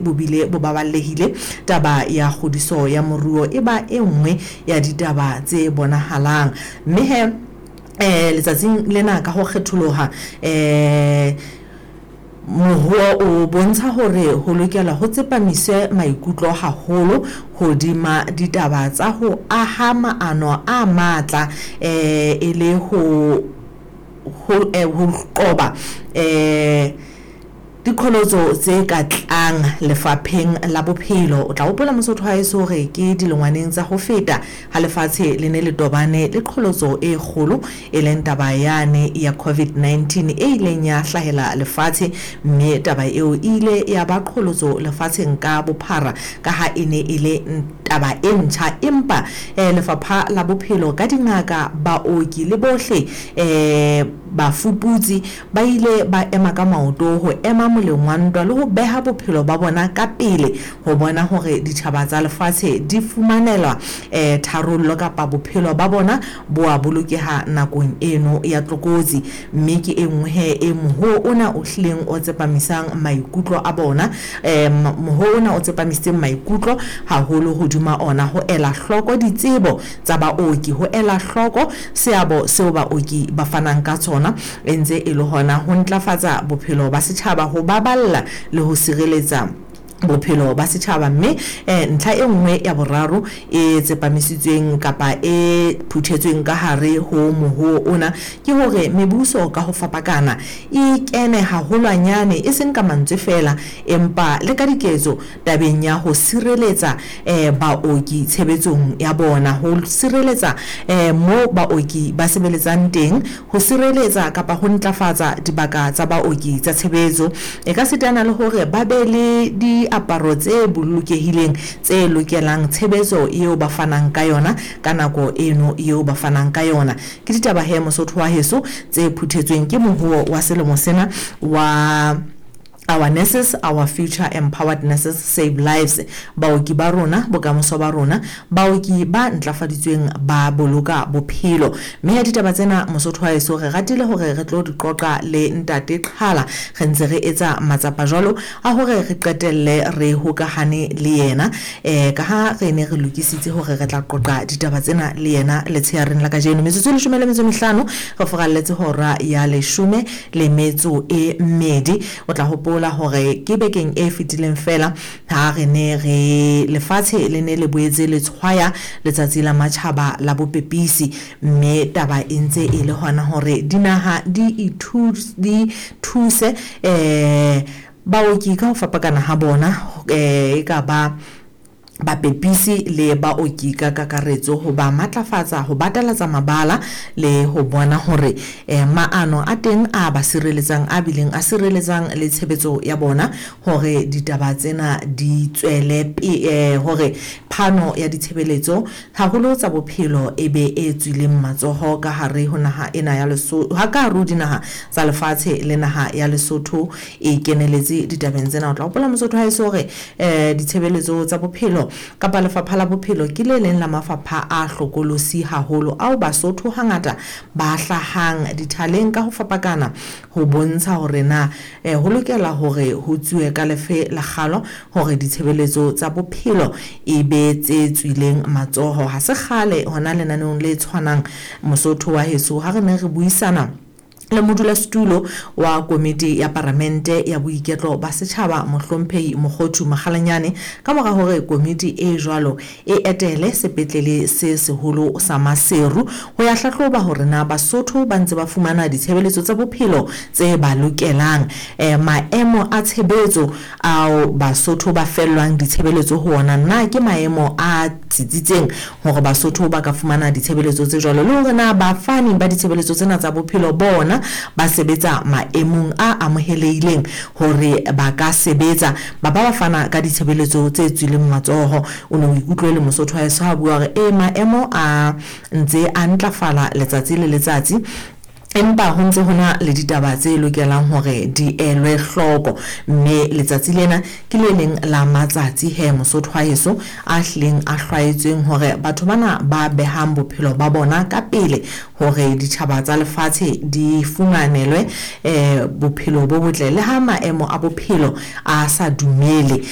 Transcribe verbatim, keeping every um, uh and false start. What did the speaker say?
Bo bile bo baballehile. Taba ya kgodiso ya moruo e ba e nngwe ya ditaba tse bonahalang. Mme he eh letsatsing lena ka ho kgetholoha eh moruo o bontsha hore ho lokela ho tsepamiswe maikutlo haholo hodima ditaba tsa ho aha maano a matla eh e le ho ho ho qoba eh diqholotso tse ka tlang lefapheng la bophelo. O tla hopola Mosotho wa heso hore ke dilengwaneng tsa ho feta ha lefatshe le ne le tobane le qholotso e kgolo, e leng taba yane ya COVID nineteen e ileng ya hlahela lefatshe, mme taba eo e ile ya ba qholotso lefatsheng ka bophara ka ha e ne e le taba e ntjha. Empa eh lefapha la bophelo ka dingaka, baoki le bohle eh bafuputsi ba ile ba ema ka maoto ho ema moleng wa ntwa le ho beha bophelo ba bona ka pele ho bona hore ditjhaba tsa lefatshe di fumanelwa eh tharollo kapa bophelo ba bona bo a bolokeha nakong eno ya tlokotsi. Mme ke e nngwe he e moho ona o hlileng o tsepamisang maikutlo a bona, eh moho ona o tsepamisitseng maikutlo haholo hodima ona, ho ela hloko ditsebo tsa baoki, ho ela hloko seabo seo baoki ba fanang ka tsona, e ntse e le hona ho ntlafatsa bophelo ba setjhaba, ho baballa le ho sireletsa bophelo ba setjhaba. Mme eh ntlha e nngwe ya boraro e tsepamisitsweng kapa e phuthetsweng ka hare ho moho ona ke hore mebuso ka ho fapakana e kene haholwanyane, e seng ka mantswe fela empa le ka diketso tabeng ya ho sireletsa eh baoki tshebetsong ya bona, ho sireletsa eh mo baoki ba sebeletsang teng, ho sireletsa kapa ho ntlafatsa dibaka tsa baoki tsa tshebetso, e ka sitana le hore ba be le di aparo tse bolokehileng tse lokelang tshebetso eo ba fanang ka yona ka nako eno eo ba fanang ka yona. Ke ditaba he Mosotho wa heso tse phuthetsweng ke mohuo wa selemo sena wa Our Nurses, Our Future, Empowered Nurses Save Lives. Baoki ba rona, bokamoso ba rona, baoki ba ntlafaditsweng ba boloka bophelo. Mme ya ditaba tsena Mosotho wa heso re ratile hore re tlo di qoqa le ntate Qhala, re ntse re etsa matsapa jwalo a hore re qetelle re hokahane le yena, eh ka ha re ne re lokisitse hore re tla qoqa ditaba tsena le yena letsheareng la kajeno. Metsotso e leshome le metso e mehlano re furalletse hora ya leshome le metso e mmedi. O tla hopola hore ke bekeng e fetileng fela ha re ne re lefatshe le ne le boetse le tshwaya letsatsi la matjhaba la bopepisi, mme taba e ntse e le hona hore dinaha di ithuse, di thuse eh baoki ka ho fapakana ha bona, eh e ka ba bapepisi le baoki ka kakaretso, ho ba matlafatsa, ho batalatsa mabala le ho bona hore eh, maano a teng a ba sireletsang, a bileng a sireletsang le tshebetso ya bona, hore ditaba tsena di tswele pe, eh, hore phano ya ditshebeletso haholo tsa bophelo e be e tswileng matsoho ka hare ho naha ena ya Lesotho, ha ka hare ho dinaha tsa lefatshe le naha ya Lesotho e keneletse ditabeng tsena. O tla hopola Mosotho ha eso hore eh, ditshebeletso tsa bophelo kapa lefapha la bophelo ke le leng la mafapha a hlokolosi haholo ao Basotho hangata ba hlahang dithaleng ka ho fapakana ho bontsha hore na eh, ho lokela hore ho tsuwe ka lefe la kgalo hore ditshebeletso tsa bophelo e be tse tswileng matsoho. Ha se kgale hona lenaneong le tshwanang Mosotho wa heso ha re ne re buisana le modulasetulo wa komiti ya paramente ya boiketlo ba setjhaba Mohlomphehi Mokgothu Makgalanyane, ka mora hore komiti e jwalo e etele sepetlele se seholo sa Maseru ho ya hlahloba hore na Basotho ba ntse ba fumana ditshebeletso tsa bophelo tse ba lokelang, eh, maemo a tshebetso ao Basotho ba fellwang ditshebeletso ho ona na ke maemo a tsitsitseng hore Basotho ba ka fumana ditshebeletso tse jwalo, le hore na bafani ba ditshebeletso tsena tsa bophelo bona ba sebetsa maemong a amohelehileng hore ba ka sebetsa ba ba ba fana ka ditshebeletso tse tswileng matsoho. O ne o ikutlwe le Mosotho wa heso ha bua hore e maemo a ntse a ntlafala letsatsi le letsatsi, Empa ho ntse hona le ditaba tse lokelang hore di elwe hloko, mme letsatsi lena ke le leng la matsatsi he Mosotho wa heso a hlileng a hlwaetsweng hore batho bana ba behang bophelo ba bona ka pele hore ditjhaba tsa lefatshe di fumanelwe eh bophelo bo botle le ha maemo a bophelo a sa dumele.